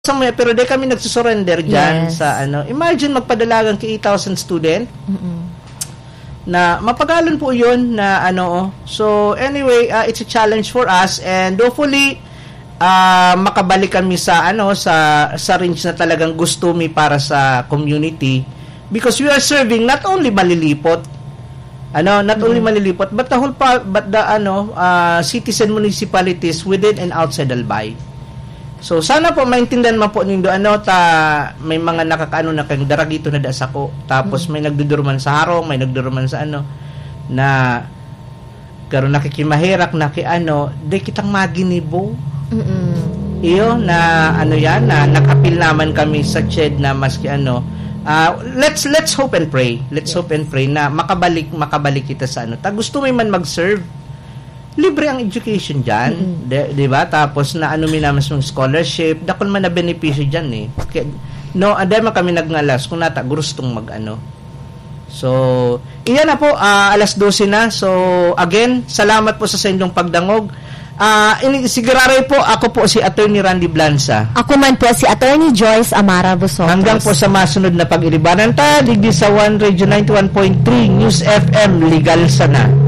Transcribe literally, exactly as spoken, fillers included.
sa mga, pero di kami nagsusurrender dyan Yes. sa ano. Imagine, magpadalagan ki eight thousand student Mm-mm. na mapagalon po yun na ano. Oh. So anyway, uh, it's a challenge for us, and hopefully uh, makabalik kami sa ano, sa sa range na talagang gusto mi para sa community, because we are serving not only Malilipot, ano, not only Malilipot, but the whole pa, but the ano, uh, cities and municipalities within and outside Albay. So sana po maintindihan man po nindo, ano, ta may mga nakakaano na kayong daragito na da sako. Tapos may nagduduruman sa harong, may nagduruman sa ano, na garo nakikimaherak na ki ano, di kitang maginibo. Mm-mm. Iyo na ano yan, na nakapil naman kami sa CHED na maski ano. Ah, let's let's hope and pray. Let's hope and pray na makabalik makabalik kita sa ano. Ta gusto mo man mag-serve, libre ang education diyan, Mm-mm. di, di ba? Tapos na ano mi naman yung scholarship, dakon man na benepisyo diyan eh. Kaya, no, anday man kami nagngalas kung nata gustong mag ano. So, iyan na po, ah, alas dose na. So, again, salamat po sa saindong pagdangog. Ah, ini, siguraray po, ako po si Attorney Randy Blanza. Ako man po si Attorney Joyce Amara Busotros. Hanggang po sa masunod na pag-iribanan ta, digdi sa One Radio ninety-one point three News F M, legal sana.